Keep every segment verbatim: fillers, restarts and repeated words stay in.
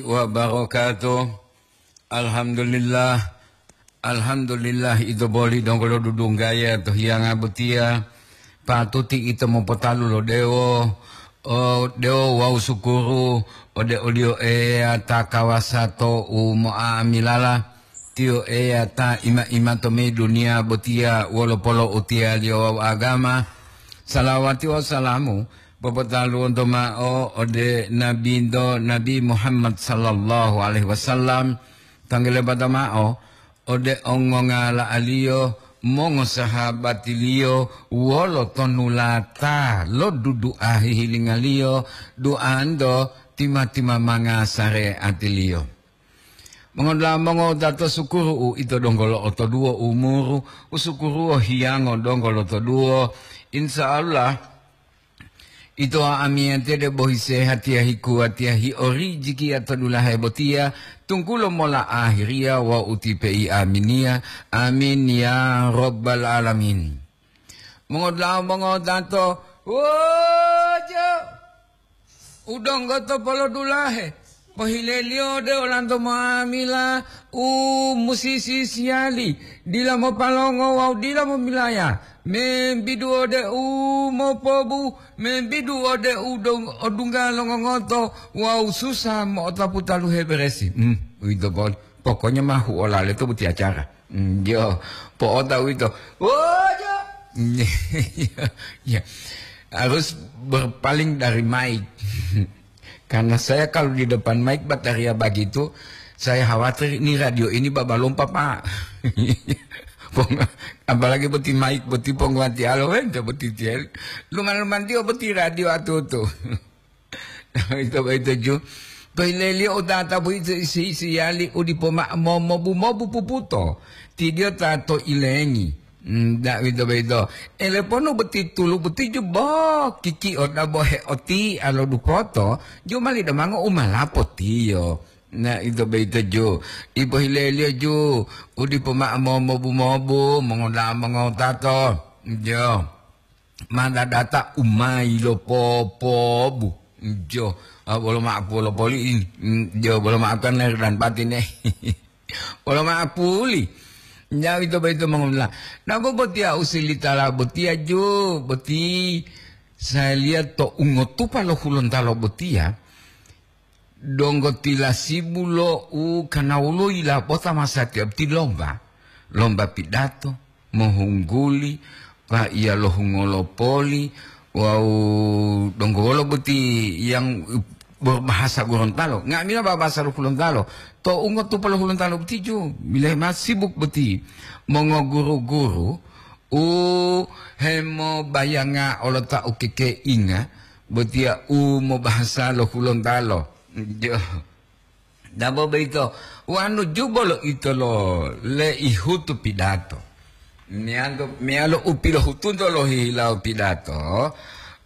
Wabarakatuh. Alhamdulillah. Alhamdulillah, ito boli donggo lo dudunggaya to hiyanga botiya. Patuti ito mopotalu lo dewo, o dewo wawu sukuru ode oliyo Eya ta kawasa to u mo'amilala. Tiyo Eya ta ima-ima to meyi duniya botiya wolo polo'utiyaliyo wawu agama. Salawati wawu salamu popotaluwonto mao ode Nabinto, Nabi Muhammad sallallahu alaihi wasallam, tanggele bata mao ode ongongala'aliyo, mongosahabatiliyo, wolo tonulata lo dudu'a hihilingaliyo, duanto tima-timamanga sareatiliyo. Mongodula'a mongowutato, sukuru u ito donggo lo'otoduwo umuru, usukuruwo hiyango donggo lotoduwo. Insya Allah, ito amiyatiya debo hisehatiya hikuwatiya hiorijikiya to dulahe botiya, tunggulo mola ahiriya wawu utipe'i aminiya. Amin ya rabbal alamin. Mongodula'a mongowutato, wojo! U donggo to polodulahe, pohileliyo ode olanto nga'amila u musi sisiyali, dila mopalongo wawu dila momilaya, membidu ode u mopobu, membidu ode u dong-, odungga longongoto wawu susa mo'otapu taluhe beresi. Hmm, uwito poli. Pokoknya ma huolale to boti acara. Mm, yo, po'ota uwito. Oh, yo. Ya, harus berpaling dari mic. Karena saya kalau di depan mic bataria bagitu, saya khawatir ini radio ini babalompa, Pak. Pong-, apalagi boti mic, boti pongguwatiyalo, wento boti tiel. Luman-luman tiyo boti radio atutu. Ito boyito ju, toileliyo u tata boyito isi-isiyali u dipo mao mo-, mobu-mobu puputo, tidiyo ta to ilengi. Hmm, da-, uwito boyito. Eleponu boti tulu boti ju, bo, kikio dabo heotia lo dupoto, ju mali damango u malapotiyo. Na, ito boyito ju, ipohileliyo ju, u dipo mao mo-, mobu-mobu, mongoda-, mongotato. Jo. Ma dadata u ma yilopopobu. Jo, a, bolo ma'apulo poli, mm, jo, bolo ma'apulo lahir dan batin, eh. Bolo ma'apuli. Nyawi to boyito mongomula. Nago botiya u silitala botiya jo, boti saya lihat to ungotupa lo Hulontalo botiya. Donggo tilasibu lo u kanawulo yilapota masatiya boti lomba, lomba pidato, mohungguli, pa'iya lohungolo poli, wawu donggo wolo boti yang berbahasa Gorontalo. Nga'amila bahasa lo Hulontalo. To ungotupa lo Hulontalo boti ju, bilahi ma sibuk boti. Mongoguru-guru u hemobayanga olota u kekeinga, botiya u mobahasa lo Hulontalo. Jo. Dabo boyito, wanu ju bolo ito lo leihutu pidato. Meyalo, meyalo u pilohutunto lohihilawo pidato,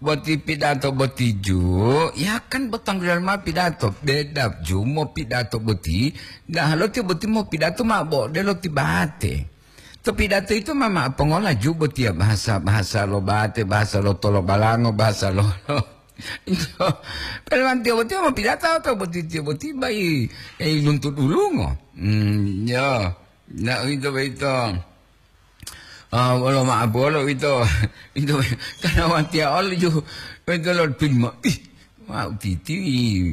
boti pidato boti ju, ya kan bo tangguliyo mao pidato, beda ju mopidato boti, dahalo tiyo boti mopidato mao bo odelo ti bate. To pidato yito ma, ma pongola ju botiya bahasa, bahasa lo bate, bahasa lo tolobalango, bahasa lo, lo. Pelewantiyo botiya ma pidato to boti, tiyo boti bai, eh, luntu dulungo. Hmm, yo. Na, uwito boyito. Ah, wolo ma'apolo uwito. Uwito, karena watiya olo ju, uwito lo pin ma-, ih, Wau titi,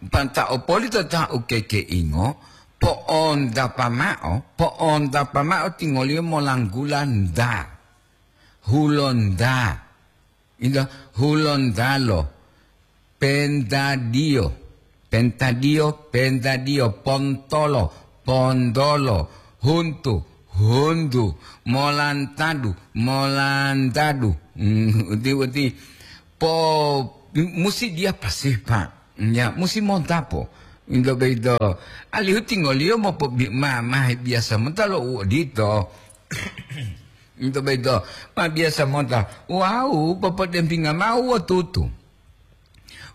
panta'o poli to ta ukekeingo, po'ontapa mao, po'ontapa mao tingoliyo molanggula nda, hulonda, ida, hulondalo, pentadiyo, pentadiyo, pentadiyo, pontolo, pondolo, huntu, hundu, molantadu, molantadu. Hmm, uti, uti. Po, musi dia pasih, Pak. Ya, musi montapo. Into boyito. Alihu tingoliyo mopobi-, ma, ma biasa monta lo u odito. Into boyito. Ma biasa monta. Wau, popodempinga mao wakutu.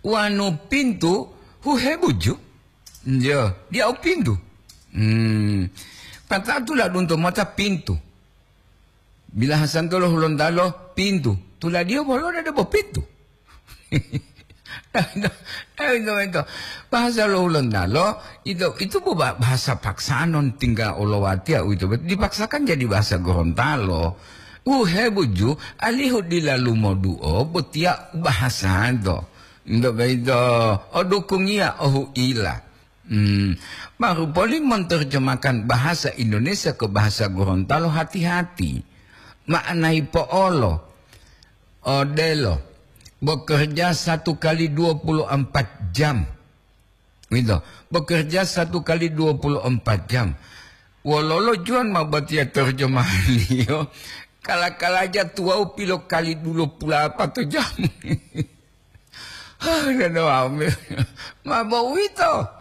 Wanu pintu, huhebuju. Yo, dia u pintu. Hmm. Pata'o tuladunto mota pintu. Bilahasanto lo Hulontalo pintu. Tuladiyo bolo debo pintu. Ito, ito, ito. Bahasa lo Hulontalo, itu, itu bu-, ba-, bahasa paksaan non tingga olowatiya uwito. Dipaksakan jadi bahasa Gorontalo. Uhe buju, alihu dila lumoduo, botiya bahasa to. Ito, ito, o dukungiya, o huila. Hmm, baru poli menerjemahkan bahasa Indonesia ke bahasa Gorontalo, hati-hati. Maknai po'olo. Odelo, bekerja satu kali dua puluh empat jam. Gitu. Bekerja satu kali dua puluh empat jam. Wololo juwan ma botiya terjemahaliyo? Kala-kalaja tuwawu pilo kali dua puluh empat jam. Hah, dada wami. Ma bo uwito.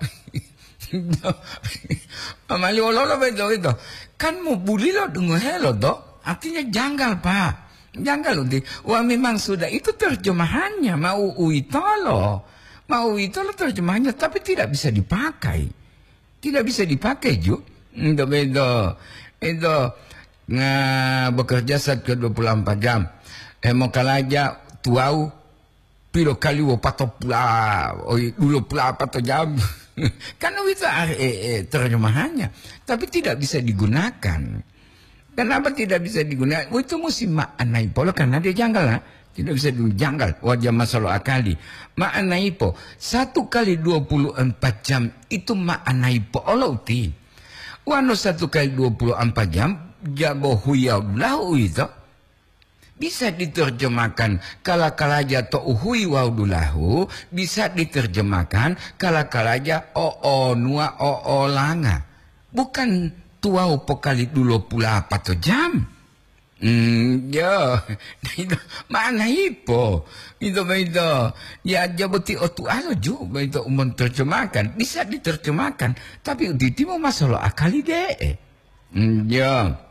Amali wololo beto uwito? Kan mubulilo dungohelo to? Artinya janggal, Pak. Janggal, uti. Wah, memang sudah itu terjemahannya, mau uwitolo. Mau uwitolo terjemahannya, tapi tidak bisa dipakai. Tidak bisa dipakai, ju. Ento beto. Ento nga bekerja satu dua puluh empat jam. Hemokalaja tuwawu pilo kali wopatopula, oi, dulopula apato jam. Kan uwito, ah, eh, eh, terjemahannya. Tapi tidak bisa digunakan. Kenapa tidak bisa digunakan? Oh, itu mesti maknai polo karena dia janggal, ha? Tidak bisa digunakan, janggal. Wajah masalo akali. Maknai po, satu kali dua puluh empat jam itu maknai po olo uti. Wano satu kali dua puluh empat jam, jabo huya lahu uwito. Bisa diterjemahkan kala-kalaja to uhuyi wawu dulahu, bisa diterjemahkan kala-kalaja o'onuwa o'olanga. Bukan tuwawu pokali dulopulapato jam. Hmm, ya, itu makna hipo. Itu begitu. Ya, jaboti otualo ju, begitu umon terjemahkan. Bisa diterjemahkan, tapi uditimu masolo akali de'e. Hmm, ya.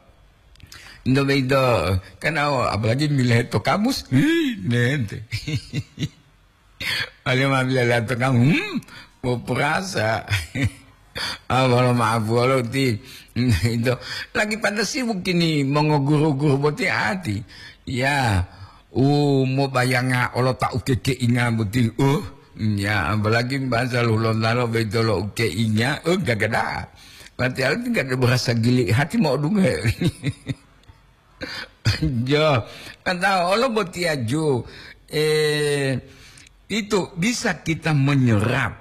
Ento boyito, kan awo, apalagi milehe to kamus, hii, nente. Wale ma milehe to kamus, hmm, mo perasa. Ah, wolo maaf, wolo ti. Ento, lagi pada sibuk kini mongoguru-guru boti ati. Ya, u mobayanga olo ta ukekeinga boti. Uh, ya, apalagi bahasa Hulontalo boyito lo ukeinga, uh, gagada. Berarti alu tinggal berasa gili hati mau dunge. Jo, kan tahu, olo botiya ju, eh, itu bisa kita menyerap,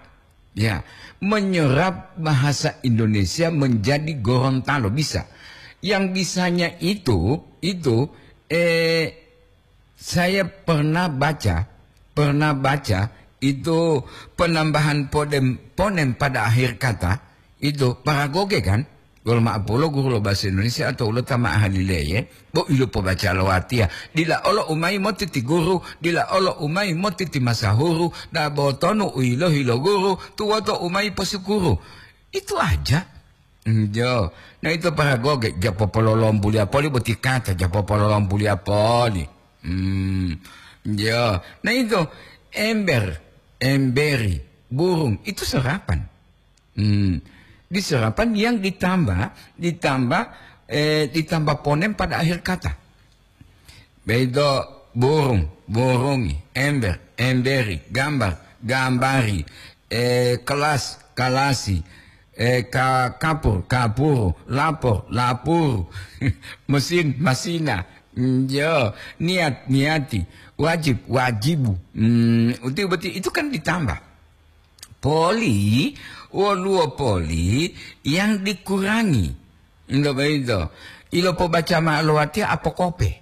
ya, menyerap bahasa Indonesia menjadi Gorontalo, bisa. Yang bisanya itu, itu, eh, saya pernah baca, pernah baca itu penambahan podem-, ponem pada akhir kata, itu paragoge kan? Wolo ma'apolo guru lo bahasa Indonesia atau ulo ta ma'ahali leye, bo ilo pobaca lo watiya. Dila olo umayi motiti guru, dila olo umayi motiti masahuru, da botonu u yilohi lo guru, tuwoto umayi posukuru. Itu aja. Njo. Na ito paragoge, ja popololombuliya poli boti kata, ja popololombuliya poli. Hmm. Njo. Na ito ember, emberi, burung, itu serapan. Hmm. Di serapan yang ditambah, ditambah, eh, ditambah ponem pada akhir kata. Begitu burung, burungi, ember, emberi, gambar, gambari, eh, kelas, kalasi, eh, ka-, kapur, kapuru, lapor, lapuru, mesin, masina, mm, yo, niat, niati, wajib, wajibu. Hmm, uti, uti, itu kan ditambah. Poli, woluwo poli yang dikurangi. Ento boyito, ilopobaca ma'o lo watiya apokope.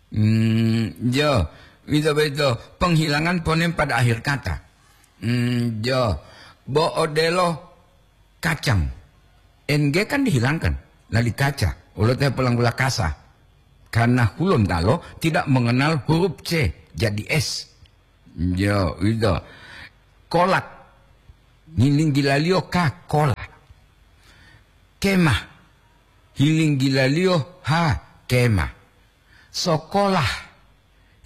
Hmm, jo, ito boyito penghilangan ponem pada akhir kata. Hmm, jo, bo odelo kacang. N G kan dihilangkan, lali kaca, wolo te polanggula kasa. Karena Hulontalo tidak mengenal huruf C, jadi S. Yo, uwito. Kolak. Hilinggilaliyo ka kola. Kemah. Hilinggilaliyo ha kemah. Sokolah.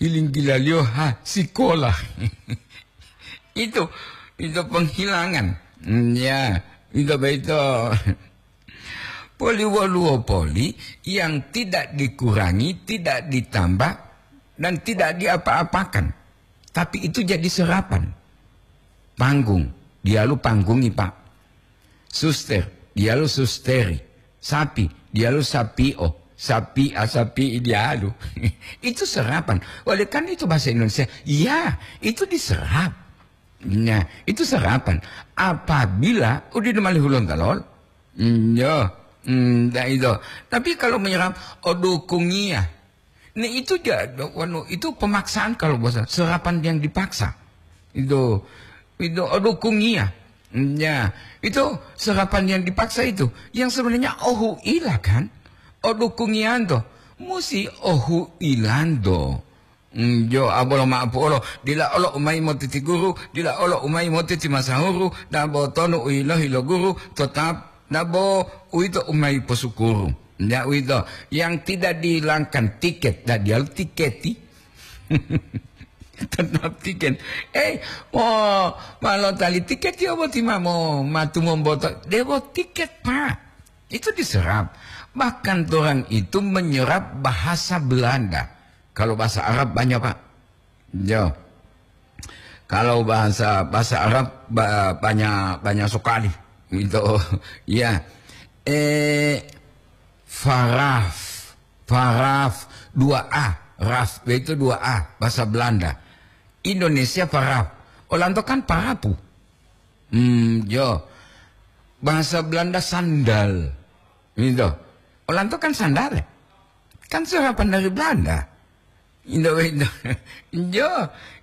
Hilinggilaliyo ha sikolah. Itu, itu penghilangan. Mm, ya, itu begitu. Poli woluwo poli yang tidak dikurangi, tidak ditambah, dan tidak diapa-apakan. Tapi itu jadi serapan. Panggung, diyalu panggungi, Pak. Suster, diyalu susteri. Sapi, diyalu sapio. Sapi'a, sapi'i diyalu. Itu serapan. Oleh karena itu bahasa Indonesia, ya, itu diserap. Nah, itu serapan. Apabila udah mali Hulontalo, mm, ya, mm, dah itu. Tapi kalau menyerap, odukungia. Nah, itu ja-, wanu, itu pemaksaan kalau bahasa, serapan yang dipaksa. Itu, itu odukungia. Ya, itu serapan yang dipaksa itu. Yang sebenarnya ohuila kan? Odukungianto. Musi ohuilanto. Mm, jo, abolo ma'apu olo, dila olo umayi motiti guru, dila olo umayi motiti masahuru, dabo tonu u yilohi lo guru, tetap dabo uwito umayi posukuru. Ya uwito, yang tidak dihilangkan tiket, dadiyalu tiketi. Tetap tiket. Eh, mo, malo tali tiket ya boti mamo, matu momboto. Debo tiket, Pak. Itu diserap. Bahkan orang itu menyerap bahasa Belanda. Kalau bahasa Arab banyak, Pak. Yo. Kalau bahasa, bahasa Arab ba-, banyak, banyak sekali. Itu, ya. Eh, faraf. Faraf, dua A. Raf, itu dua A, bahasa Belanda. Indonesia faraf. Olanto kan parapu. Hmm, yo. Bahasa Belanda sandal. Gitu. Olanto kan sandal, ya? Kan serapan dari Belanda. Indo beito. Jo,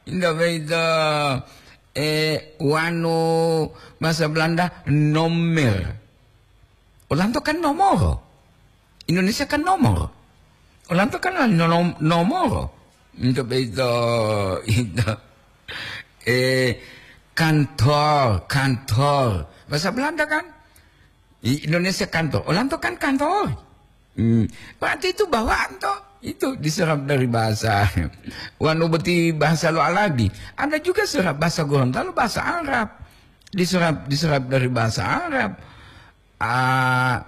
indo beito. Eh, wanu bahasa Belanda nomer. Olanto kan nomoro. Indonesia kan nomor. Olanto kan nom-, nomoro. Indo beito, indo. Eh, kantor, kantor. Bahasa Belanda kan? I-, Indonesia kantor. Olanto kan kantor. Hmm. Berarti itu bawaan toh. Itu diserap dari bahasa. Wanu boti bahasa lo Arabi. Ada juga serap bahasa Gorontalo, bahasa Arab. Diserap, diserap dari bahasa Arab. Ah,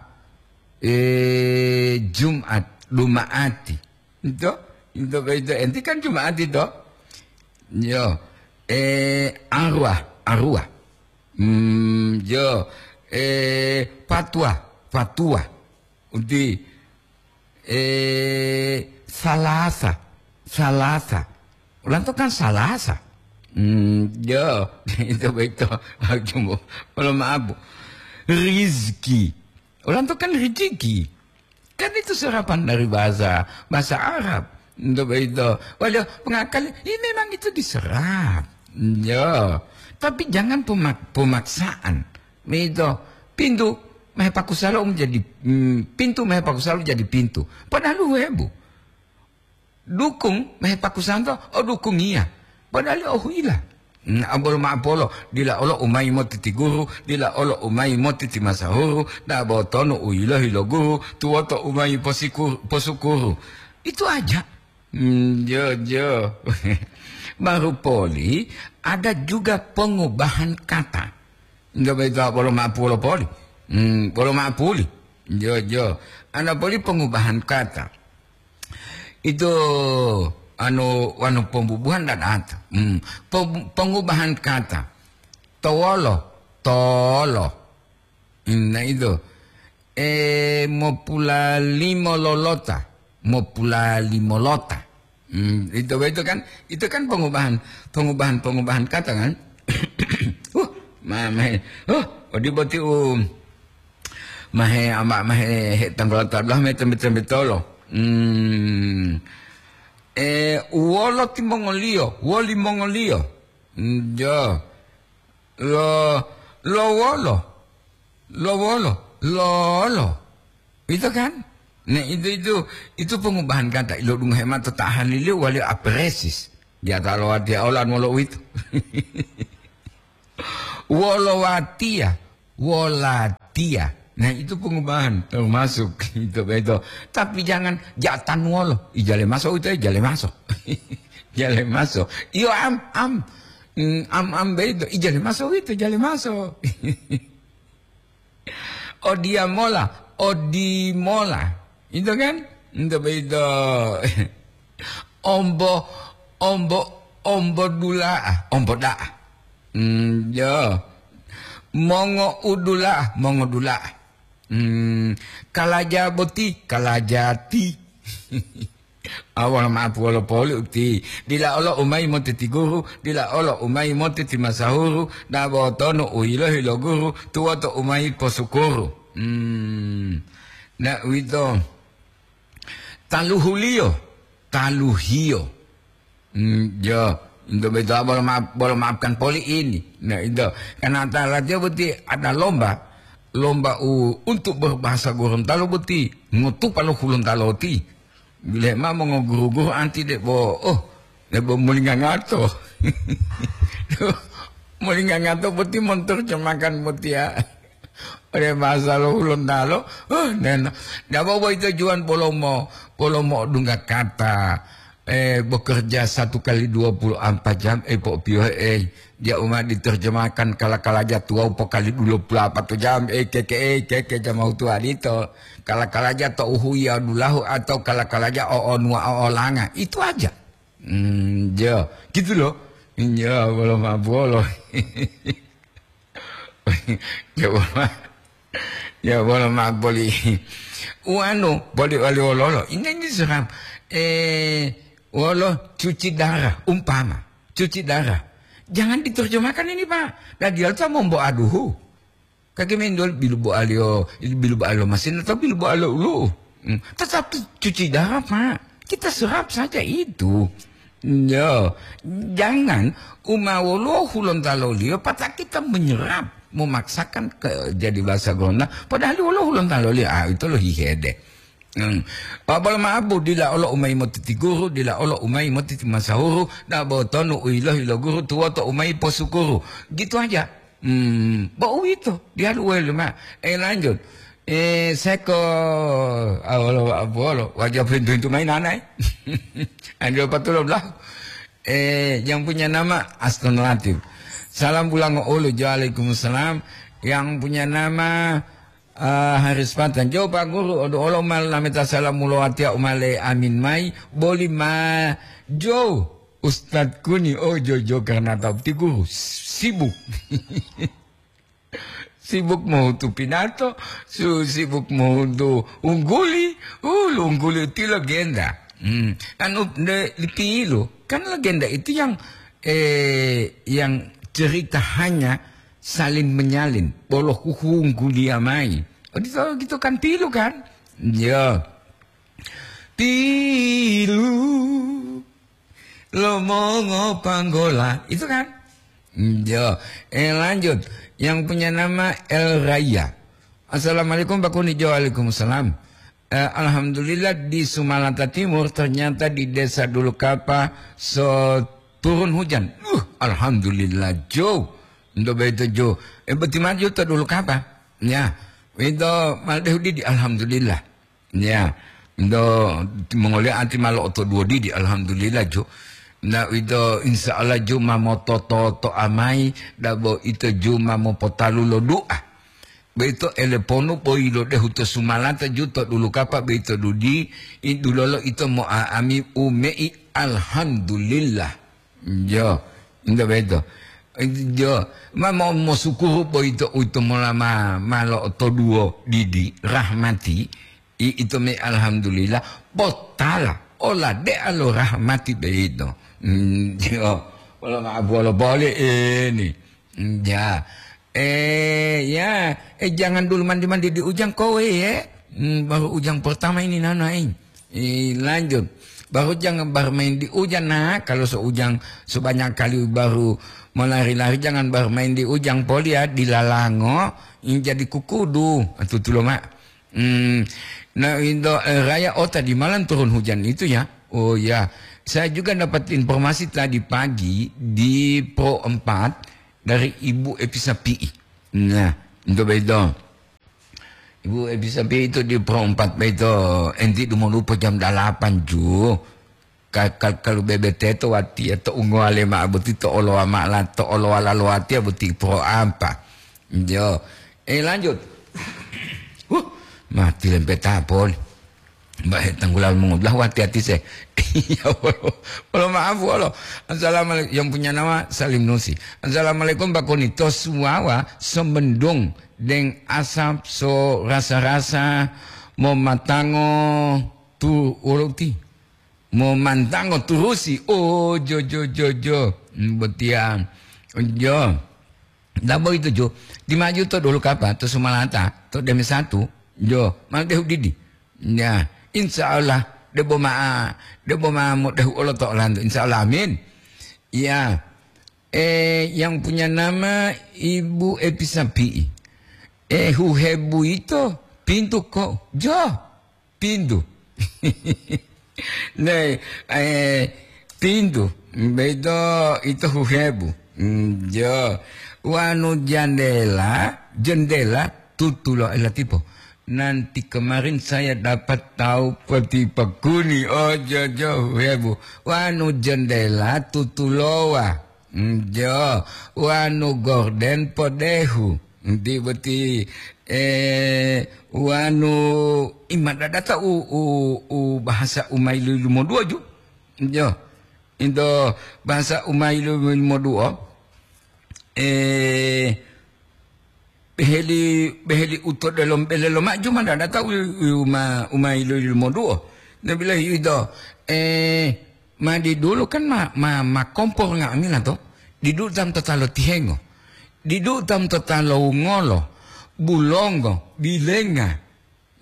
eh, Jumat, Lumaati. Itu, itu, itu. Enti kan Jumaati toh. Yo. Eh, arwah, arwah. Hmm, yo. Eh, fatwa, fatwa. Uti, eh, Salasa, Salasa. Ulanto kan Salasa. Hmm, yo, itu beito. Cuma, kalau maaf, Bu. Rizki. Ulanto kan rezeki. Kan itu serapan dari bahasa, bahasa Arab. Untuk beito. Waduh, pengakali, ya memang itu diserap. Yo. Tapi jangan pemak-, pemaksaan. Mito, pintu mehepakusalo menjadi, mm, pintu mehepakusalo jadi pintu. Padahal uhebu. Dukung mehepakusanto, o dukungiya. Padahal o huila. Mm, abolo ma'apolo, dila olo umayi moti ti guru, dila olo umayi moti ti masahuru, dabo tonu u yilohi lo guru, tuwoto umayi posiku-, posukuru. Itu aja. Hmm, jo, jo. Baru poli, ada juga pengubahan kata. Nggak begitu, bolo ma'apolo poli. Hmm, bolo ma'apuli. Jo, jo. Ada poli pengubahan kata. Itu, anu, anu pembubuhan dan ata. Hmm, pem-, pengubahan kata. Towolo, tolo. Hmm, nah itu. Eh, mopulalimo lolota, mopulalimo lota. Hmm, itu, itu kan, itu kan pengubahan, pengubahan, pengubahan kata kan. Uh, ma-, mahe, uh, odi boti u, mahe ama, mahe he tanggola tablah me tembe-tembe tolo. Hmm. Eh, uwolo timongoliyo, woli mongoliyo. Hmm, jo. Lo, lo wolo. Lo wolo. Lolo. Itu kan? Nah, itu, itu, itu pengubahan kata. Ilo dungohe mata tahan liliu wali apresis. Dia tak lewat dia olan wolo itu. Wolo watia. Wolatia. Nah, itu pengubahan termasuk itu, itu. Tapi jangan jatan wolo. Ijale maso itu, ijale maso. Jale maso. Iyo, am, am. Mm, am, am, beito. Ijale maso itu, jale maso. Odiya mola, odi mola. Itu kan? Itu begitu. Ombo, ombo, ombo dula'a, ombo da'a. Hmm, ya. Mongo udula, mongo dula. Hmm, kalaja boti, kalajati. Awal maaf wolo poli uti. Dila olo umai moti ti guru, dila olo umai moti ti masahuru, na botonu u yilohi lo guru, tuwoto umai posukuru. Hmm. Na uwito. Taluhuliyo, taluhiyo. Hmm, yo, into beto bolo maaf, bolo maafkan poli ini. Nah, into, karena ta latihan boti ada lomba, lomba u, untuk berbahasa Gorontalo boti, ngutupa lo Hulontalo ti. Bile ma mongoguru-guru anti de bo, oh, de bo mulingangato. Mulingangato boti monterjemahkan boti ya. Ode bahasa lo Hulontalo, oh, nena. Dabo boyito juwan polomo, polomo odungga kata. Eh, bekerja satu kali dua puluh empat jam, eh, po piyo, eh, dia uma diterjemahkan kala-kalaja tuwau po kali dua puluh empat jam, eh, keke, eh, keke jamau tuwa dito. Kala-kalaja to uhuya dulahu atau kala-kalaja o onua o olanga. Itu aja. Hmm, ya, gitu loh. Ya, bolo ma bolo. Ya, bolo ma. Ya, bolo ma boli. Uanu, boli wali wololo. Ini, ini seram. Eh, wolo cuci darah, umpama. Cuci darah. Jangan diterjemahkan ini, Pak. Dan dia tuh mau bawa aduhu. Kaki mendol bilu boalio, bilu boalio masin atau bilu boalio ulu. Hmm. Tetap tu cuci darah, Pak. Kita serap saja itu. Ya, jangan umawolo Hulontalo liyo, patah kita menyerap, memaksakan ke jadi bahasa Gorontalo. Padahal wolo Hulontalo liyo, ah, itu lo hihede. Hmm. Pabolo maabu, dila olo umai motiti guru, dila olo umai motiti masahuru, da botonu uilohi lo guru tuwoto umai posukuru. Gitu aja. Hmm, bo uwito, diyalu welu ma. Eh, lanjut. Eh, seko, awolo, awolo, wajah pintu-pintu main anai. Anjo patulom lah. Eh, yang punya nama Aston Latif. Salam pulang ulu, waalaikumsalam. Yang punya nama, ah, Haris Patan. Jo, Pak Guru, odo olo mal nameta salam mulo atia umale amin mai. Boli ma, jo. Ustadz Kuni, oh, jojo karena tahu ti guru sibuk. Sibuk mohutu pinato, su-, sibuk mohutu ungguli, uh, ungguli ti legenda. Hmm. Anu, de, pilu, kan legenda itu yang, eh, yang cerita hanya salin menyalin, bolo huhunggulia mai. Oh, gitu, gitu kan pilu kan? Ya. Pilu. Lomongo panggola, itu kan? Hmm, yo. Eh, lanjut. Yang punya nama El Raya. "Assalamualaikum, Pak Kuni." Jo, waalaikumsalam. Eh, alhamdulillah, di Sumalata Timur, ternyata di Desa Dulukapa so turun hujan. Uh, alhamdulillah, Jo. Ndo beto, Jo. Eh, beti maju to Dulukapa. Ya. Itu mal dehudi di alhamdulillah. Ya, do mongoliyo ati ma lo'otoduwo didi, alhamdulillah, Jo. Na uwito, insya Allah, Jo, ma motototo'a mayi, dabo ito, Jo, ma mopotalu lo du'a. Boyito eleponu boyi lodehu to Sumalata, Jo, to Dulukapa, boyito dudi, i dulolo ito mo'a'ami ume'i, alhamdulillah. Jo, nto boyito. Jo, ma mo-, mosukuru boyito, uwito mola ma, ma lo'otoduwo didi, rahmati, I-, ito me alhamdulillah, potala, olade'a lo rahmati boyito. Hmm, yo, wolo ma'apu wolo boli ini. Hmm, ya. Eh, ya, eh, jangan dulu mandi-mandi di ujang kowe, ya. Hmm, baru ujang pertama ini, nana, eh. Eh, lanjut. Baru jangan bermain di ujang, nah. Kalau seujang sebanyak kali baru melari-lari, jangan bermain di ujang poli ya, di lalango, ini jadi kukudu. Tutulo, Mak. Hmm, nah, Indo, eh, Raya, oh, tadi malam turun hujan itu ya? Oh ya, saya juga dapat informasi tadi pagi di Pro empat dari Ibu Epi Sapi'i. Nah, Indo bedo. Ibu Epi Sapi'i itu di Pro empat bedo. Enti dumolupo jam dalapan ju. Ka-, ka-, kalu bebe teto watiya to ungoale ma'o boti to olowa ma'o la-, to olowala lo watiya boti poro ampa. Yo. Eh, lanjut. Huh, mati lempeta poli. Mbak, he tanggula mongodulahu, hati-hati se. Iya, wolo, wolo, maaf, wolo. Assalamualaikum, yang punya nama Salim Nusi. Assalamualaikum, Mbak Koni. To Suwawa, Semendung, deng asap so rasa-rasa, momatango tu, wolo uti. Momantango turusi. Oh, jo, jo, jo, jo. Hmm, botiya. Jo. Dabo itu, jo. Di maju to dulu kapa, to Sumalata, to Deme satu. Jo, mal dehu didi. Ya, insya Allah, debo ma, debo ma mo dehu olo to Orlando. Insya Allah, amin. Ya. Eh, yang punya nama Ibu Epi Sapi'i. Eh, huhebu ito pintu ko. Jo. Pintu. Nei, eh, pintu. Beto ito huhebu. Mm, jo. Wanu jandela, jendela tutulo elatipo. Nanti kemarin saya dapat tahu peti pakuni. Oh, jo, jo, huhebu. Wanu jendela tutulowa. Mm, jo. Wanu gorden podehu. Nti boti, eh, wanu imadadata u, u, u bahasa u ma yilu-yilumoduo ju. Jo. Into bahasa u ma yilu-yilumoduo, eh, beheli, beheli u to delomo bele lomaju madadata u, u ma, u ma yilu-yilumoduo. Nabilahi ito, eh, Ma didulu kan ma, ma, ma kompor nga'amila to. Didulu tam to talo tihengo. Didulu tam to talo wungolo, bulongo, bilenga.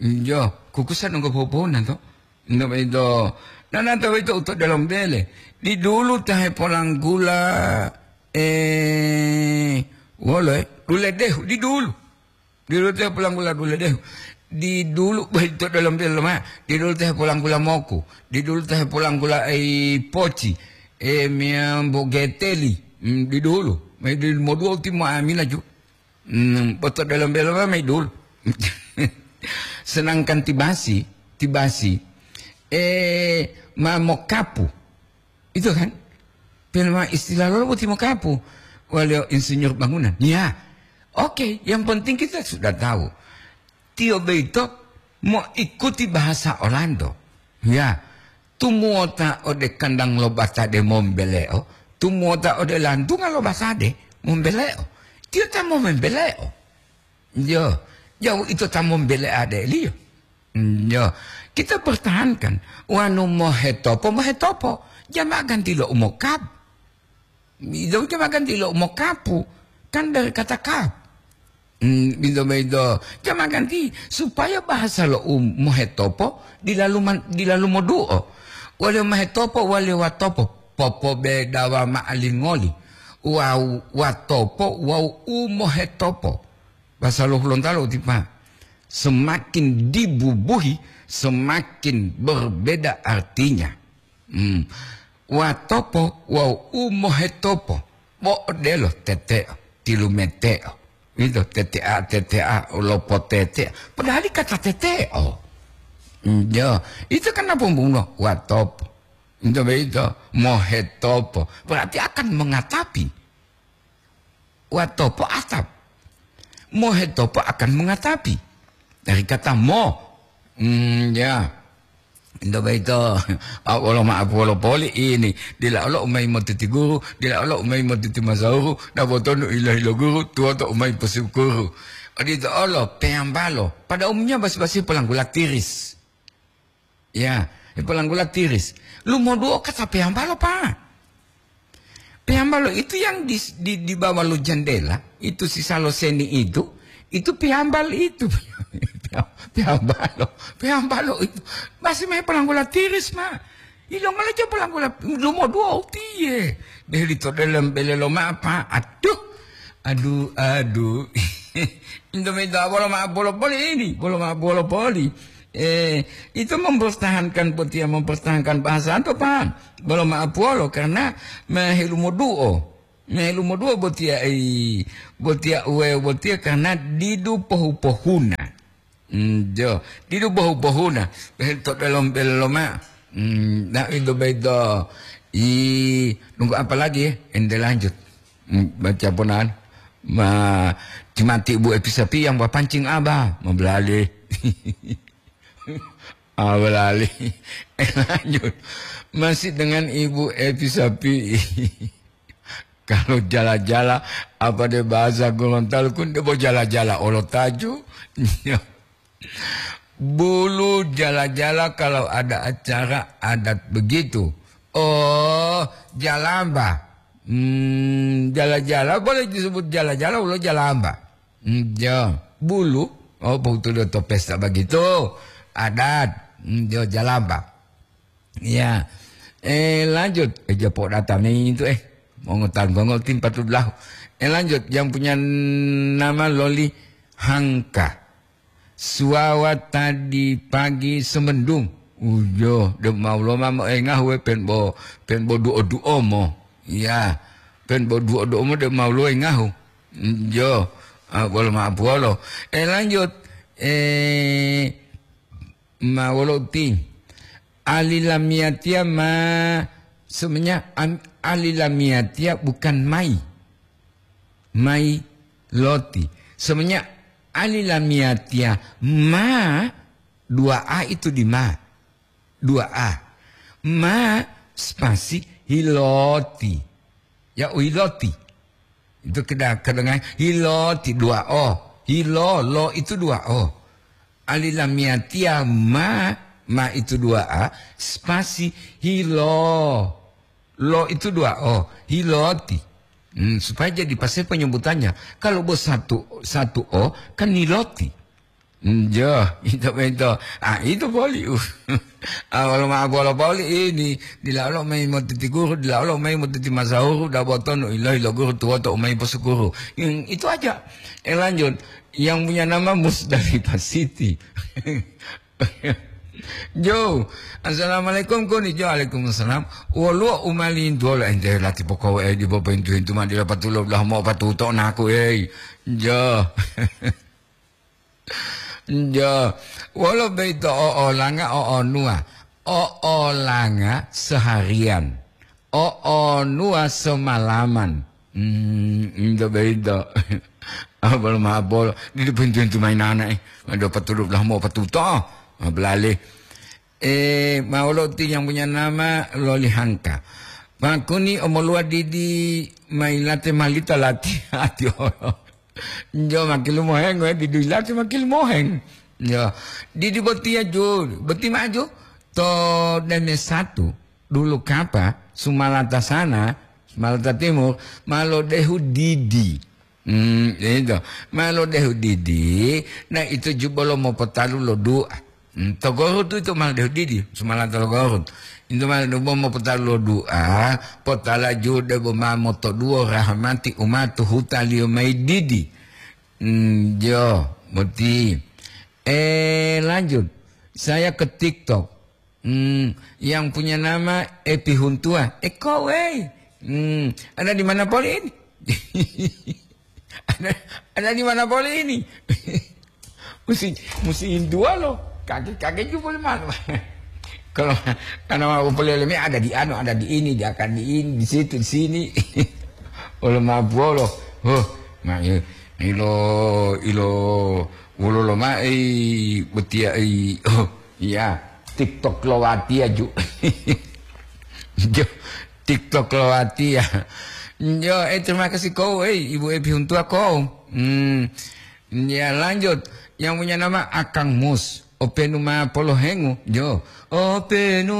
Jo, kukusa donggo popona to. Ndo ito, nananto ito uto dalam bele. Didulu ta hepolanggula, eh, wolo, eh, duledehu, didulu. Didulu te polanggula duledehu. Didulu, boyito dalam bele loma. Didulu te polanggula moku. Didulu te polanggula ai poci. E miyambo geteli. Mm, didulu. Mai didulu modua uti mo amila ju. Mm, boto dalam bele loma mai dulu. Sedangkan tibasi, tibasi. E ma mokapu. Itu kan? Pelma istilah lolo boti mokapu. Walio insinyur bangunan. Ya. Oke, yang penting kita sudah tahu. Tiyo beito mo ikuti bahasa Orlando. Ya. Tumuota ode kandang lo batade mombeleo. Tumuota ode lantunga lo batade mombeleo. Tiyo ta mo membeleo. Yo. Jauh itu ta mombele ade liyo. Yo, kita pertahankan. Wanu mohetopo, mohetopo. Jama ganti lo umokab. Itu jama ganti lo umokapu. Kan dari kata kap. Hmm, itu, itu. Jama ganti supaya bahasa lo um, mohetopo dilalu man, dilalu moduo. Wale mohetopo, wale watopo. Popo bedawa ma'alingoli. Wau watopo, wau umohetopo. Bahasa lo Hulontalo tipa. Semakin dibubuhi, semakin berbeda artinya. Hmm. Watopo wawu umohetopo. Bo odelo teteo, tilumeteo. Itu tetea, tetea, lopotetea. Padahal kata teteo. Hmm, ya, itu kan apa pembunuh? Watopo. Itu begitu, mohetopo. Berarti akan mengatapi. Watopo atap. Mohetopo akan mengatapi. Dari kata mo. Hmm, ya. Ento boyito, a, wolo ma'apu wolo poli ini. Dila olo umai motiti guru, dila olo umai motiti masauru, dabo tonu ilo-ilo guru, tuwoto umai posukuru. Odito olo, peyambalo. Pada umumnya basi-basi polanggula tiris. Ya, polanggula tiris. Lumoduo kata peyambalo, Pak. Peyambalo itu yang di, di, di bawah lo jendela, itu si Saloseni itu, itu peyambal itu. Peyambalo, peyambalo itu. Masih main polanggula tiris, Pak. Ilongala aja polanggula lumoduo tiye. Deh, lito dalam bele lo mapa. Aduh. Aduh, aduh. Indomie itu bolo ma bolo poli ini, bolo ma bolo poli. Eh, itu mempertahankan botia, mempertahankan bahasa itu, Pak. Bolo ma puolo karena mehelumoduo. Mehelumoduo botia, eh, botia uwe botia karena didu pohu-pohuna. Hmm, jo. Didu bohu-bohuna. Behel to dalam beloma. Hmm, nah, itu bedo. I, nunggu apa lagi ya? Ente lanjut. Hmm, baca ponan. Ma, cimati ibu epi sapi yang bapancing abah. Mau belali. Awalali. Eh, lanjut. Masih dengan Ibu Evi Sapi. Kalau jala-jala, apa de bahasa Gorontalo kun de bo jala-jala olo taju. Bulu jala-jala kalau ada acara adat begitu. Oh, jalamba. Hmm, jala-jala boleh disebut jala-jala, ulo jalamba. Hmm, ya, bulu. Oh, betul to pesta begitu. Adat. Hmm, ya, jalamba. Ya. Eh, lanjut. Eh, japo data nih itu, eh. Mau ngotang gongol tim patut lahu. Eh, lanjut. Yang punya nama Loli Hangka. Suwawa tadi pagi semendung. Ujo, de mau loma mo engahu we pen bo, pen bo duo-duo mo. Ya. Pen bo duo-duo mo de mau lo engahu. Jo, ah, bolo ma apuwolo. Eh, lanjut. Eh, ma wolo uti. Ali lamiyatiya ma, sebenarnya am-, ali lamiyatiya bukan mai. Mai loti. Sebenarnya ali lamiyatiya ma, dua A itu di ma. Dua A. Ma spasi hiloti. Ya, u hiloti. Itu keda-, kedengaran hiloti dua O. Hilo, lo itu dua O. Ali lamiyatiya ma, ma itu dua A, spasi hilo. Lo itu dua O, hiloti. Hmm, supaya jadi pas penyebutannya. Kalau bos satu, satu O, kan niloti. Hmm, jo, itu, itu. Ah, itu poli. Ah, wolo ma bolo poli ini. Dila olo mai motiti guru, dila olo mai motiti masahuru, da botonu ilo, ilo guru tuwoto umai posukuru. Hmm, itu aja. Eh, lanjut. Yang punya nama Musdalifah City. Jo, assalamualaikum koni. Jo, waalaikumsalam. Woluwo umalintuwolo ente lati pokowo e dipo pointu-intu ma dila patulo blah mo patuto naku ei. Jo. Jo. Wolo beito o olanga o onua. O olanga seharian. O onua semalaman. Hmm, ento beito. Abal mabol. Di pintu-pintu mainana, eh. Ada patulu lah mau patuto. Belale. Eh, maulo ti yang punya nama Loli Hangka. Pakuni omolua didi mailate malita lati hati olo. Jo makilu moheng, we, didi lati makilu moheng. Jo. Didi botia ju, boti maju. To deme satu. Dulu kapa, Sumalata sana, Sumalata Timur, ma lodehu didi. Hmm, itu. Ma lodehu didi, na itu ju bolo mopotalu lo du'a. Hmm, to Gorut itu ma lodehu didi, Sumalata lo Gorut. Itu ma lodehu mopotalu lo du'a, potala ju debo ma motoduwo rahmati umatu hutaliyo mayi didi. Hmm, jo, boti. Eh, lanjut. Saya ke TikTok. Hmm, yang punya nama Epi Huntua. Eh, kau, wei. Hmm, ada di mana poli ini? Ada, ada di mana poli ini? Musi, musi Hintua loh. Kakek-kakek juga boleh malu. Kalau karena mau peleleme ada di anu, ada di ini, dia akan di ini, di situ, di sini. Olo mabuolo. Huh, ma, ilo, ilo, wolo lo ma, eh, betia, eh, oh, iya, TikTok lo wati aju. Jo, TikTok lo wati ya. Jo, eh, terima kasih kau, eh, Ibu Epi Huntua kau. Hmm, ya, lanjut. Yang punya nama Akang Mus. Openu ma polohengu, jo. Openu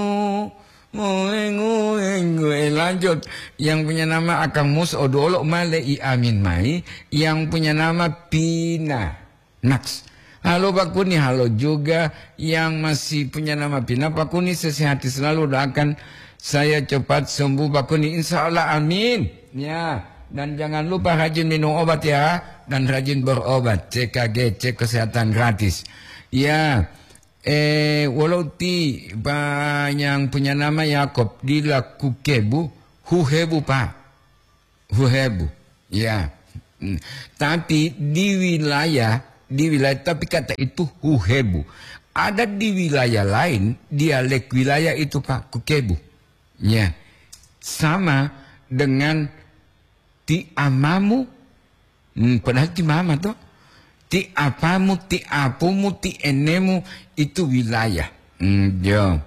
mohengu-hengu. Eh, lanjut. Yang punya nama Akang Mus, oduolo ma le'i amin mai. Yang punya nama Pina. Naks. Halo Pak Kuni, halo juga yang masih punya nama Pina. Pak Kuni, sesehati selalu, doakan saya cepat sembuh Pak Kuni. Insya Allah, amin. Ya, dan jangan lupa rajin minum obat ya, dan rajin berobat. C K G, cek kesehatan gratis. Ya, eh, walau ti, Pak, yang punya nama Yakob, dila kukebu, huhebu, Pak. Huhebu. Ya. Hmm. Tapi di wilayah, di wilayah, tapi kata itu huhebu. Ada di wilayah lain, dialek wilayah itu, Pak, kukebu. Ya. Sama dengan ti amamu, hmm, padahal ti mama to. Ti apamu, ti apumu, ti enemu, itu wilayah. Hmm, jo.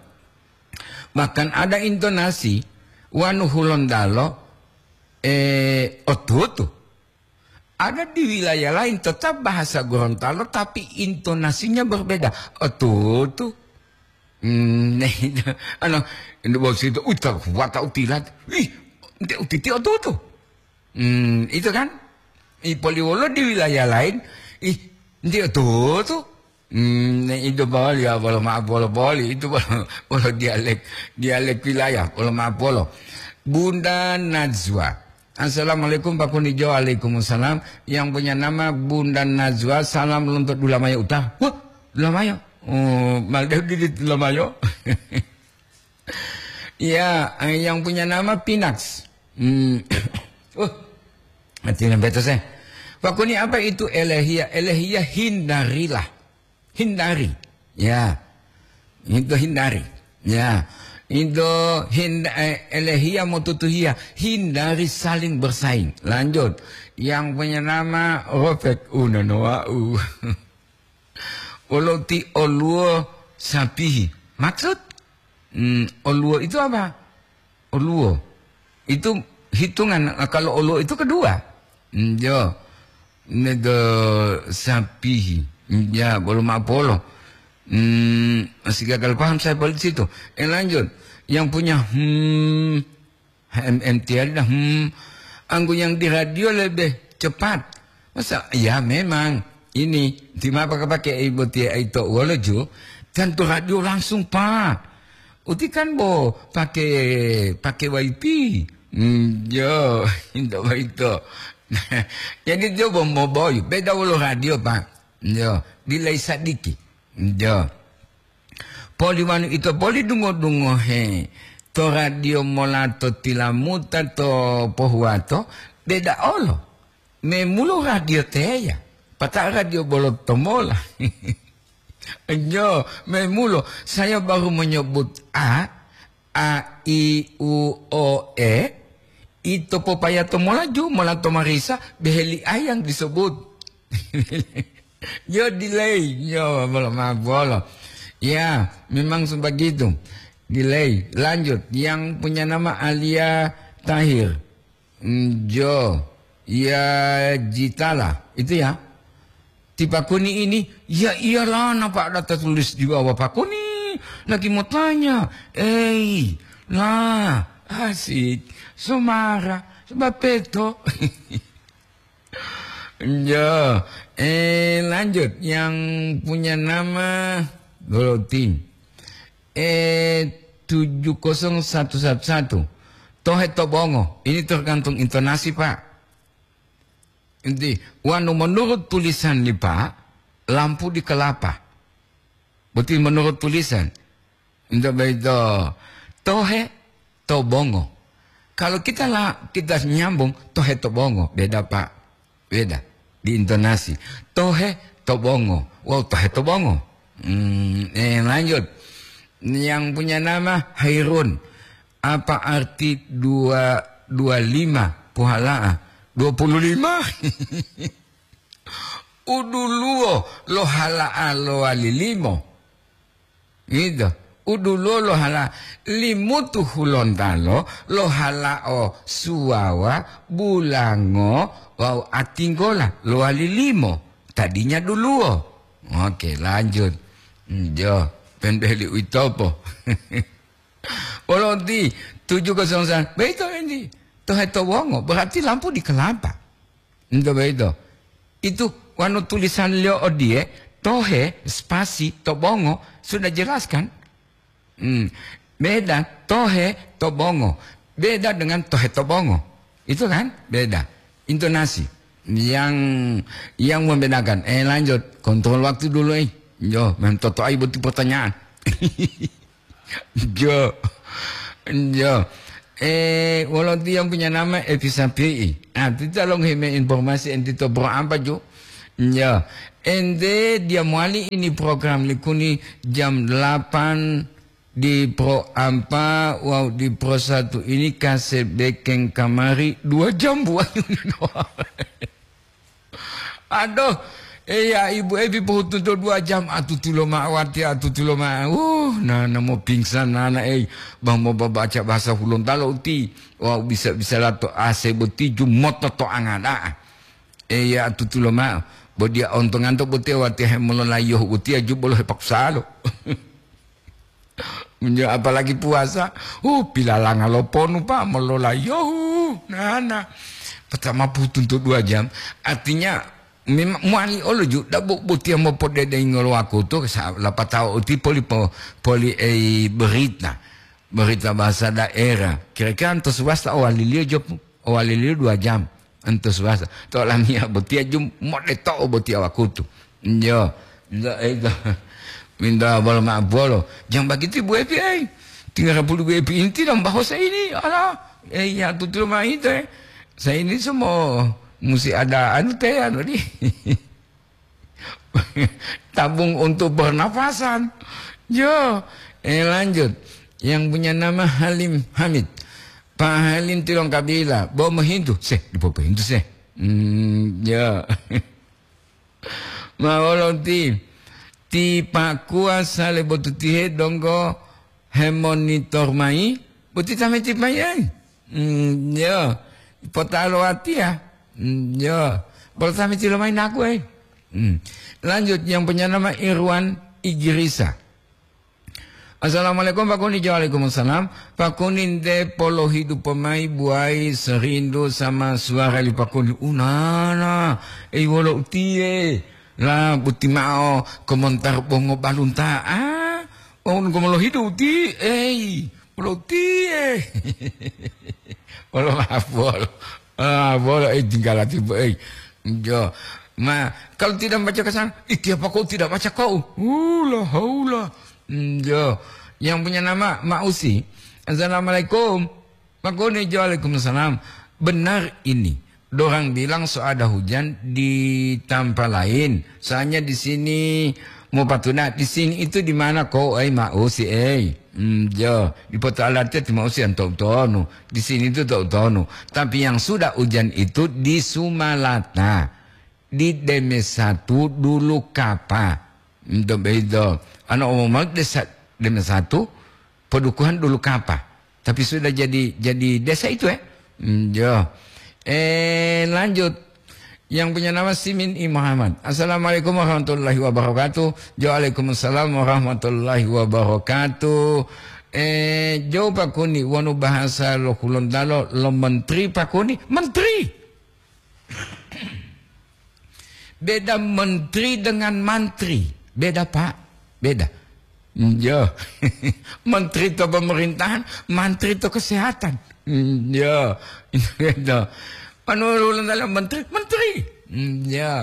Bahkan ada intonasi wanu Hulontalo, eh, otutu. Ada di wilayah lain tetap bahasa Gorontalo, tapi intonasinya berbeda. Otutu. Hmm, nah, itu, ano, ini bos itu, uta, wata utilat. Ih, ente utiti otutu. Hmm, itu kan? Ipoliwolo di wilayah lain, ih, ente otutu. Hmm, nah, itu boli, ya, bolo maaf, bolo boli, itu bolo, bolo dialek, dialek wilayah, bolo maaf, bolo. Bunda Najwa. Assalamualaikum, Pak Kunijo. Waalaikumsalam. Yang punya nama Bunda Najwa, salam lonto Dulamayo uta. Wah, Dulamayo. Oh, maldew didi Dulamayo. Ya, eh, yang punya nama Pinax. Hmm. Uh, mati lembeto saya. Pak Kuni, apa itu elehia? Elehia hindarilah. Hindari. Ya. Itu hindari. Ya. Itu hind eh, elehia motutuhia. Hindari saling bersaing. Lanjut. Yang punya nama Rofek Unanoau. Wolo ti oluwo sapihi. Maksud? Hmm, oluwo itu apa? Oluwo. Itu hitungan, kalau oluwo itu kedua. Hmm, jo. Nego sapihi. Hmm, ya, bolo mapolo. Hmm, masih gagal paham saya pada situ. Eh, lanjut. Yang punya, hmm, H M M tiari dah, hmm, anggu yang di radio lebih cepat. Masa, ya memang, ini, di ma pake-pake ibu tia ito wolo ju, tentu radio langsung, Pak. Uti kan bo pake, pake Y P. Hmm, jo, inda baito. Jadi jo bo mo boy, beda wolo radio, Pak. Jo, delay sadiki. Jo. Poli wanu ito poli dungo-dungohe to radio mola to tilamuta to pohuwato, beda olo. Memulo radio teya, pata radio bolo tomola. Nyo, memulo saya baru menyebut A, A, I, U, O, E, ito popaya tomola ju, mola to marisa, beheli A yang disebut. Yo delay, yo bolo ma bolo. Ya, memang sebegitu. Delay. Lanjut, yang punya nama Alia Tahir. Mm, jo, ya Jitala, itu ya. Ti Pakuni ini, ya iyalah, nampak ada tertulis di bawah Pakuni. Lagi mau tanya, eh, lah, asik, somara, sebab peto. Ya, eh, lanjut. Yang punya nama Dorotin. Eh, tujuh kosong satu satu satu. Tohe to bongo. Ini tergantung intonasi, Pak. Inti, wanu menurut tulisan ni Pak, lampu di kelapa. Boti menurut tulisan. Inta baito. Tohe to bongo. Kalau kita la, kita nyambung tohe to bongo, beda, Pak. Beda di intonasi. Tohe to bongo. Wow, tohe to bongo. Hmm, eh, lanjut. Yang punya nama Hairun. Apa arti dua, dua lima puhala'a? Dua puluh lima. Uduluwo lo hala'a lowali limo. Gitu. Uduluwo lo hala limutu hulontalo lo hala'o suwawa, bulango, wawu atinggola lowali limo. Tadinya duluwo. Oke, lanjut. Njo, penbeli uitopo. Polonti tujuh kosong sembilan. Beito ini. Tohe to wongo, berarti lampu di kelapa. Nto beito. Itu wanu tulisan liyo odiye, tohe spasi to bongo, sudah jelas kan? Hmm. Beda tohe to bongo. Beda dengan tohe to bongo. Itu kan? Beda. Intonasi yang yang membedakan. Eh, lanjut. Kontrol waktu dulu, eh. Yo, mentoto ai butuh pertanyaan. Jo. Jo. Eh, wolo tiang punya nama Evi Sapi'i. Ah, tita long hime informasi enti to bro ampa ju. Jo. Ente dia mowali ini program likuni jam delapan di pro ampa, wawu di pro satu ini kase bekeng kamari dua jam buat. Aduh, Eya, ibu ebi pohutunto dua jam atutulo ma'o wati atutulo ma'o. Uh, nana mo pingsan nana ei. Bah mo babaca bahasa Hulontalo uti. Wau bisa-bisa lato A C boti jumoto to angada'a. Eya atutulo ma'o. Bo dia ontonganto botia wati hemololayohu botia jubolo hepakusalo. Menyo-, apalagi puasa, uh, pilalanga lo ponu, Pak, mololayohu, nana. Pertama putuntu dua jam, artinya memang muali olo ju, dabu botia mopodedengolo wakutu, sa-, lapatao uti poli po-, poli ei berita, berita bahasa daerah. Kira-kira antos wasta owalilio jopu. Owaliliyo dua jam, antus wasa. To lamiya botiya jum, mode to'o botiya wakutu. Yo, minta, eh, to, minta bolo ma'o bolo. Jang bagiti Bu Epi, eh. Tinggal pulu Bu Epi inti dong, bahasa ini, ala, eh, ya, tutu ma ito, eh. Saya ini semua musi ada anu teh, anu di. Tabung untuk bernapasan. Yo, eh, lanjut. Yang punya nama Halim Hamid. Pak Halim tilongkabila, bo mohintu. Seh, dipo pohintu seh. Hmm, yo. Ma wolo ti, ti Pak Kuasa le botutihe donggo hemonitor mayi, boti tameti mayi ai. Hmm, yo. Potalo watiya. Hmm, yo. Bolo tameti lomayi naku ai. Hmm. Lanjut, yang punya nama Irwan Igirisa. Assalamualaikum, Pak Kuni. Waalaikumsalam. Pak Kuni, nte polohidupo mayi buwayi serindu sama suwara li Pak Kuni. Unana, ei wolo utiye. La, buti ma'o komontar bongo balunta'a. Oh, nunggu molohidu uti, ei, wolo utiye. Wolo ma'o bolo. Ah, bolo, eh, tinggalati, Bu, eh. Jo. Ma, kalau tidak baca ke sana, "Ih, tiapa kau tidak baca kau?" Hula, haula. Hmm, jo. Yang punya nama Ma'usi. "Assalamualaikum." Pak Kuni, "Waalaikumsalam." Benar ini. Dorang bilang so ada hujan di tampa lain. Soalnya di sini mau patuna, di sini itu di mana kau, eh, Ma'usi, eh? Hmm, jo. Di Porto Alate ti Ma'usi yang tahu tonu. Di sini itu tahu tonu. Tapi yang sudah hujan itu di Sumalata, di Deme satu dulu Kapa. Ento beido. Ana umumnya desa Deme satu, Padukuhan dulu Kapa. Tapi sudah jadi, jadi desa itu, eh. Hmm, jo. Eh, lanjut. Yang punya nama Simin I Muhammad. "Assalamualaikum warahmatullahi wabarakatuh." Jo, "Waalaikumsalam warahmatullahi wabarakatuh." Eh, jo Pak Kuni, wonu bahasa lo Hulontalo, lo menteri Pak Kuni, menteri. Beda menteri dengan mantri. Beda, Pak. Beda. Yo. Menteri to pemerintahan, mantri to kesehatan. Yo. Itu. Anu urusan dalam menteri, menteri. Yo.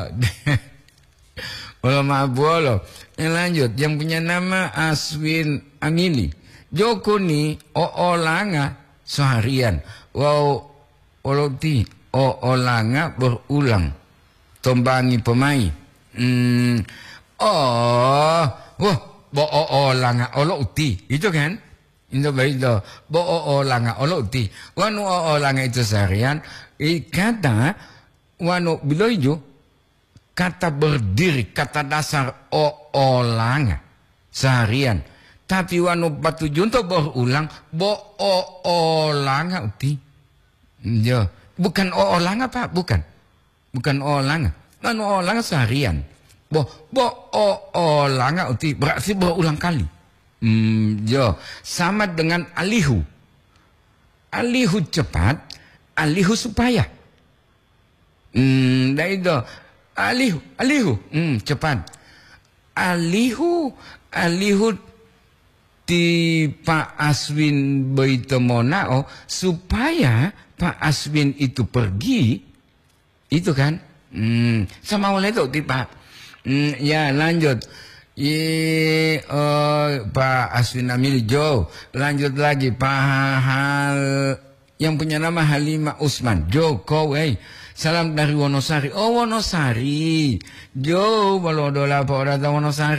Wolo ma'o bolo. Yang lanjut, yang punya nama Aswin Amili. Joko ni o olanga seharian. Wow, Olo uti, o olanga berulang. Tombangi pomai. Hmm. Oh, wah, bo o olanga olo uti. Itu kan? Itu begitu. Bo o olanga olo uti. Wanu o olanga itu seharian, i kata, wanu biloijo, kata berdiri, kata dasar o olanga seharian. Tapi wanu patujunto berulang, bo o olanga uti. Yo, bukan o olanga, Pak, bukan. Bukan o olanga. Kan o olanga seharian. Bo, bo o olanga uti, berarti berulang kali. Hmm, yo, sama dengan alihu. Alihu cepat, alihu supaya. Hmm, daido. Alihu, alihu. Hmm, cepat. Alihu, alihu ti Pak Aswin boyito monao supaya Pak Aswin itu pergi, itu kan? Hmm, sama oleh itu ti Pak. Hmm, ya, lanjut. Ye, oh, Pak Aswin Amil Jo. Lanjut lagi, Pak Hal, yang punya nama Halimah Usman. Jo, kau, eh. Salam dari Wonosari. Oh, Wonosari. Jo, bolo dola apa ora ta Wonosari?